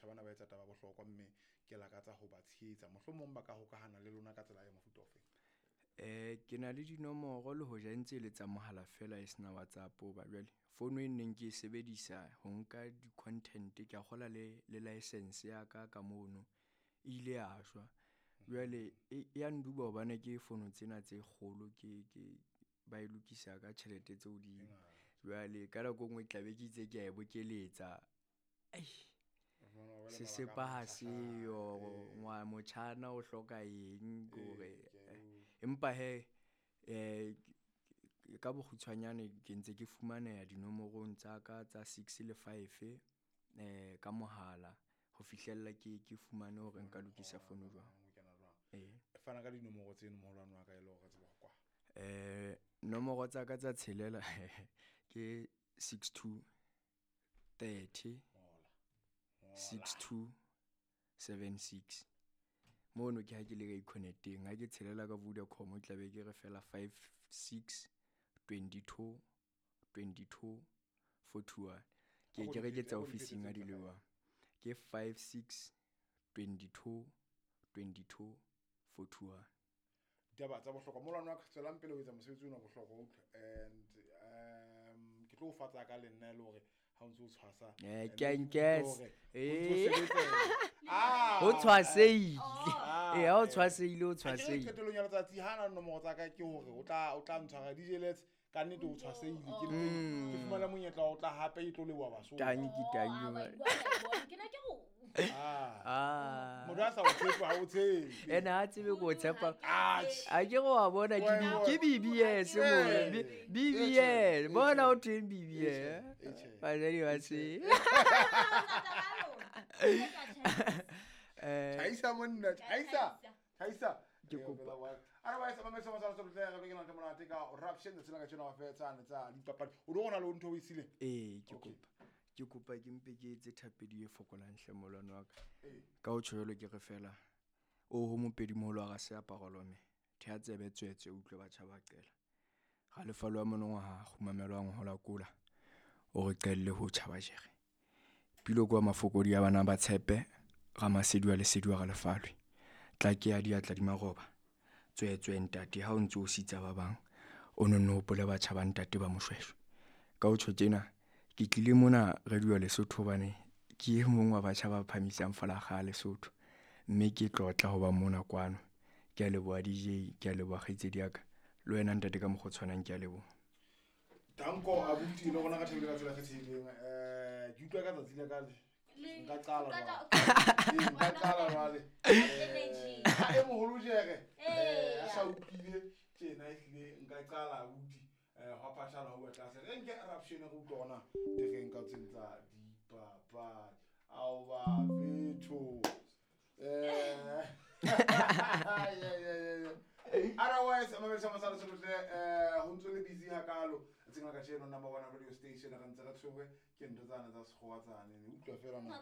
Batjha bana ba etsa taba bohlokwa mme ke lakatsa ho ba tshehetsa. Mohlomong ba ka hokahana le lona ka tsela ya mofuta ofe? Ke na le dinomoro le hoja e ntse e le tsa mohala feela e sena WhatsApp hoba jwale founu e neng ke e sebedisa ho nka di-content ke a kgola le license ya ka ka mono e ile ya shwa. Jwale e ya nduba hobane ke fono tsena tse kgolo ke ba e lokisa ka tjhelete tse hodimo. Jwale ka nako e nngwe tla be ke itse ke a e bokeletsa. Sesepa ha seyo, motjhana o hloka eng kore empa hee ka bokgutshwanyane ke ntse ke fumaneha dinomorong tsa ka tsa 6 le 5 ka mohala ho fihlella ke fumane hore nka lokisa fono jwang. Ee. Fana ka dinomoro tseno moholwane wa ka e le hore re tsebe ho kwala. Nomoro tsa ka tsa tshelela ke 62 30 62 76. Mono ke ha ke le ka Econet-eng. Ha ke tshelela ka Vodacom tla be ke re fela 5 6 22 22 41. Ke re ke tsa ofising ha di le jwang. Ke 5 6 22 22 41. Ditaba tsa bohlokwa moholwane wa ka, tswelang pele ho etsa mosebetsi ona bohlokwa utlwa. And ke tlo o fatsa ka le nna e le hore ha o ntso o tshwasa. Ke a nkesa. Ho tshwasehile. Ha o tshwasehile, o tshwasehile. Qetellong ya letsatsi ha na nomoro tsa ka ke hore o tla ntshwara DJ Let's ka nnete o tshwasehile. Ke ke fumana monyetla wa ho tla hape e tlo leboha Basotho. Tanki, tanki. Ke na ke go. Motho a sa o tshepe ha o tshepe. Ene ha tsebe ko tshepa. A ke go wa bona ke BBS mo. BBS. Bona o teng BBS. Batswadi ba se. Thaisa monna, thaisa. Thaisa. Ke kopa. Otherwise, ba mesa masala tsohle re ke na le monate ka corruption tsela ka tjena wa fetsa tsa dipapadi. O do gona le ntho o e sileng? Ee, ke kopa. Ke kopa ke mpe ke etse thapedi e fokolang hle molwane wa ka. Ka ho tjho jwalo ke re fela o ho mopedi moholo wa seaparo lome. Thea tsebe tswetswe utlwe batjha ba qela. Ga lefalo wa monongwaha kgumamelwang ho la kola. O re qelle ho tjhaba jere. Pilo kwa mafokodi ya bana ba tshepe Ramasedi wa lesedi wa Ralefalwe. Tla ke ya diatla di maroba. Tswetswe ntate ha o ntso o sitsa ba bang. O nonne hopole batjha ba ntate ba Moshweshwe. Ka ho tjho tjena ke tlile mona Radio Lesotho hobane ke e mong wa batjha ba phahamisang folakga ya Lesotho. Mme ke tlotla ho ba mona kwano. Ke a leboha DJ, ke a leboha kgaitsedi ya ka. Le wena ntate ka mokgwa o tshwanang ke a leboha. Danko abuti le rona ka thabile ka tsela e kgethehileng. Ke utlwa ka tsatsi la ka le. Nka qala jwale. Nka qala jwale. E moholo jere. A sa utlwile tjena ehlile nka qala abuti. Hwa phathala ho tlase. Re nke eruption re utlwa hona tereng ka tseng tsa dipapadi. Ao ba fetho. Otherwise, mamedisa masala sohle ho ntso le busy hakalo. Tsena ka tjeno number 1 radio station re ntse re tshwerwe ke ntho tsane tsa sekgowa tsane. Utlwa fela na.